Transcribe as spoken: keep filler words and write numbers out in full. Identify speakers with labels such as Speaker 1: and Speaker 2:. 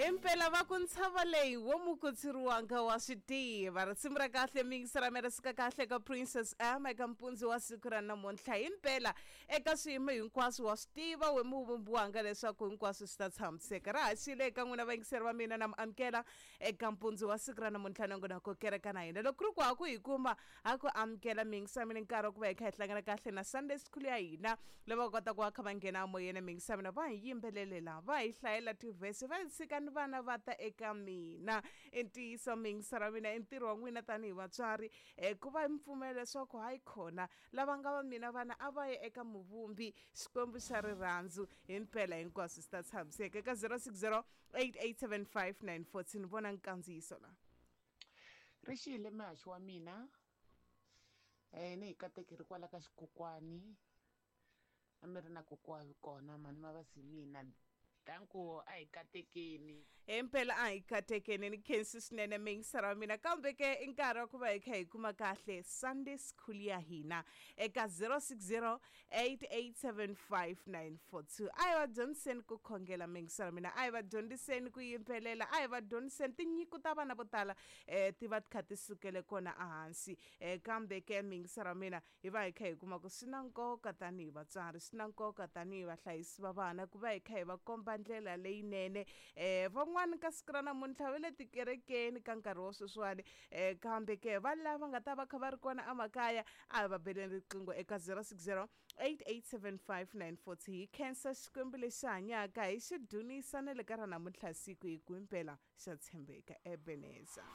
Speaker 1: Himpela va ku ntshava leyi wo mukutsiriwanga wa swi tiva. Risimu ra kahle miyingisela mi ri suka kahle ka Princess M eka mpundzu wa siku ra namuntlha. Himpela eka swiyimo hinkwaswo wa swi tiva we muvumbiwanga leswaku hinkwaswo swi ta tshamiseka. Ra haxile eka n'wina vayingiseri va mina na mi amukela eka mpundzu wa siku ra namuntlha nongonoko kereka na hina. Loko ku ri ku ha ku hi kuma ha ku amukela miyingisela mina nkarhi wa ku va hi kha hi hlangana kahle na Sunday School ya hina lava kota ku va kha va nghena emoyeni miyingisela mina va hi yimbelelela va hi hlayela tivhesi va hi tshika ni vana va ta eka mina. I ntiyiso miyingisela mina i ntirho wa n'wina tanihi vatswari um ku va mi pfumela leswaku hayi khona lava nga va mina vana a va ye eka muvumbi Xikwembu xa rirhandzu himpela hinkwaswo swi ta tshamiseka eka zero six zero eight eight seven five nine fourteen vona nkandziyiso la.
Speaker 2: Ri xile muhaxi wa mina um ni hi katekeri kwala ka xikokwani a mi ri na kokwani kona mhani ma va si mina danko a hi katekeni.
Speaker 1: Himpela a hi katekeni ni khensi swinene miyingisela wa mina kambe ke i nkarhi wa ku va hi kha hi kuma kahle Sunday School ya hina eka zero six zero eight eight seven five nine four two. A hi va dyondziseni ku khongela miyingisela mina a hi va dyondziseni ku yimbelela a hi va dyondziseni tinyiko ta vana vo tala um ti va ti kha ti sukele kona ehansi um kambe ke miyingisela wa mina hi va hi kha hi kuma ku swi na nkoka tanihi vatswari swi na nkoka tanihi vahlayisi va vana ku va hi kha hi va komba ndlela leyinene um van'wani ka siku ra namuntlha va le tikerekeni ka nkarhi wa sweswiwani um kambe ke va lava nga ta va kha va ri kona emakaya a hi va beleni riqingho eka zero six zero eight eight seven five nine four two. Hi khensa Xikwembu lexi hanyaka hi xi dunisa na le ka ra namuntlha siku hi ku himpela xa tshembeka. Ebeneza.